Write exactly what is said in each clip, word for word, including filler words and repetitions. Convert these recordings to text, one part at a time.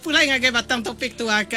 Pulai ngagai batang topik tua ke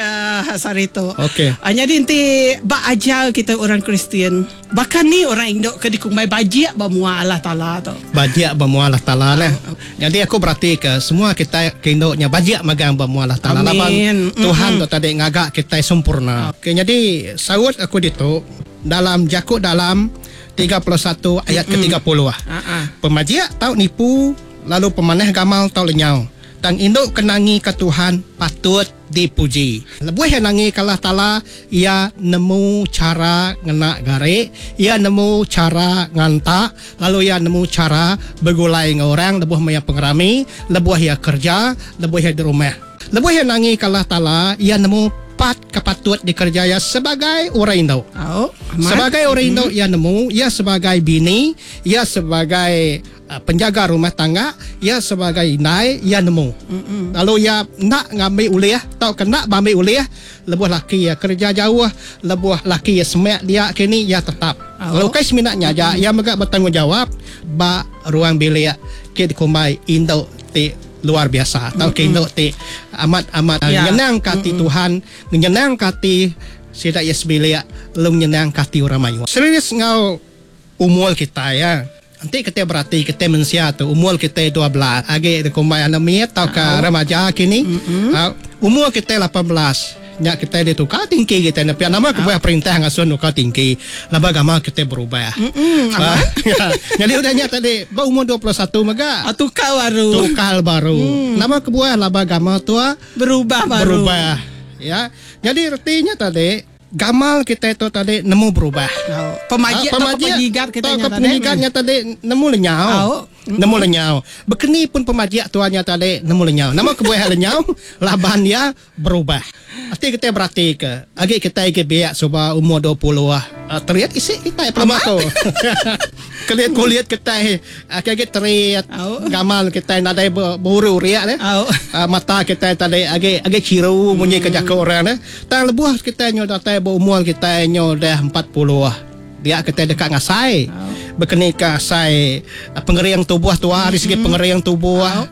sehari tu. Okey. Ah, nyadi enti ba ajar kita orang Kristian, baka ni orang indu ke dikumbai bajik ba mua Allah Taala tu? Bajik ba mua Allah Taala neh. Nyadi aku beratika semua kitai ke indu nya bajik magang ba mua Allah Taala laban Amin. Tuhan tu tadi ngaga kitai sempurna. Okey, nyadi saut aku ditu dalam jaku dalam tiga puluh satu ayat ke tiga puluh. Ha-ha. Pemajik tau nipu lalu pemanah gamal tau lenyau. Tang indu ke nangi ke Tuhan patut dipuji. Lebuh iya nangi ke Allah Taala, iya nemu chara ngena gari, iya nemu chara nganta, lalu iya nemu chara begulai enggau orang lebuh maya pengerami, lebuh iya kerja, lebuh iya di rumah. Lebuh iya nangi ke Allah Taala, iya nemu part ke patut dikereja iya sebagai orang indu. Au, amat. Sebagai orang indu iya nemu, iya sebagai bini, iya sebagai uh, penjaga rumah tangga, iya sebagai indai, iya nemu. Mm-mm. Lalu iya nak ngambil ulih atau kena bambil ulih lebuh laki iya kerja jauh, lebuh laki iya semak dia kini iya tetap. Au. Lalu kai seminaknya aja, iya mega bertanggungjawab ba ruang bilik ke dikumbai indu ti luar biasa atau ke indu ti amat-amat Ya. nyenang ke hati Tuhan, nyenang ke hati sida iya sebilik, lalu nyenang ke hati orang mayuh. Serius ngau umur kita ya. Nanti kita berarti kita manusia tu umur kita dua belas agi dikumbai anak mit atau ke remaja kini. Uh, umur kita lapan belas. Nya kita ditukar tingki kita ni. Pihak nama kebuah perintah ngasuh nukar tingki. Laba gama kita berubah. Mm-mm, Ah, ya. Jadi udah nya tadi ba umur dua puluh satu mega Ah, tukar baru. Tukar baru. Hmm. Nama kebuah laba gama tua berubah baru. Berubah. Ya. Jadi artinya tadi gamal kita itu tadi nemu berubah. Oh, pemajik Ah, atau penyigat kita atau nya tadi. penyigatnya tadi nemu lenyau. Oh. Nemu lenyau. Bekeni pun pemajik tuannya tadi nemu lenyau. Nama kebuah lenyau laban dia berubah. Arti kita berarti ke agi kita agi biak suba umur dua puluh ah. Uh, teriat isi kita perlu tu. Kulit kulit kita agi agi teriat. Oh. Gamal kita nadai ber-, beuru riak ne. Oh. Uh, mata kita tadi agi agi ciru munyi ke jaku orang ne. Tang lebuh kita nyo datai berumur kita nyo dah empat puluh. Dia kita dekat ngasai. Oh. Bekeni ke asai pengering tubuh tua dari segi Mm-mm. pengering tubuh. Oh.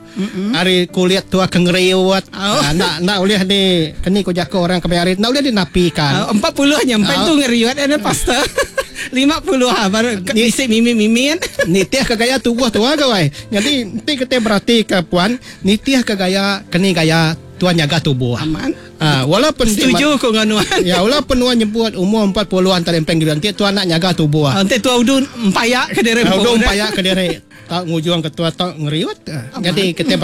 Ari kulit tua kengeriut. Oh. Ah, nak, nak boleh di keni ku jaku orang kemari, nak boleh dinapikan. Oh, empat puluh nyampe Oh. tu ngeriut ada pastor. Lima puluh ha, baru ke- Ni- isi mimi-mimian. Nitih ke gaya tubuh tua ke wai. Jadi nanti kita berarti ke puan, nitih ke gaya keni gaya tuan jaga tubuh. Aman. Ah, walaupun setuju ku dengan nuan. Ya, walaupun nuan nyebut umur empat puluhan tadi peng nanti tuan nak jaga tubuh. Ah, nanti tua udun empayak ke diri. Ah, udun empayak ke diri. Tak ngujung ke tua tak ngeriut. Aman. Jadi kita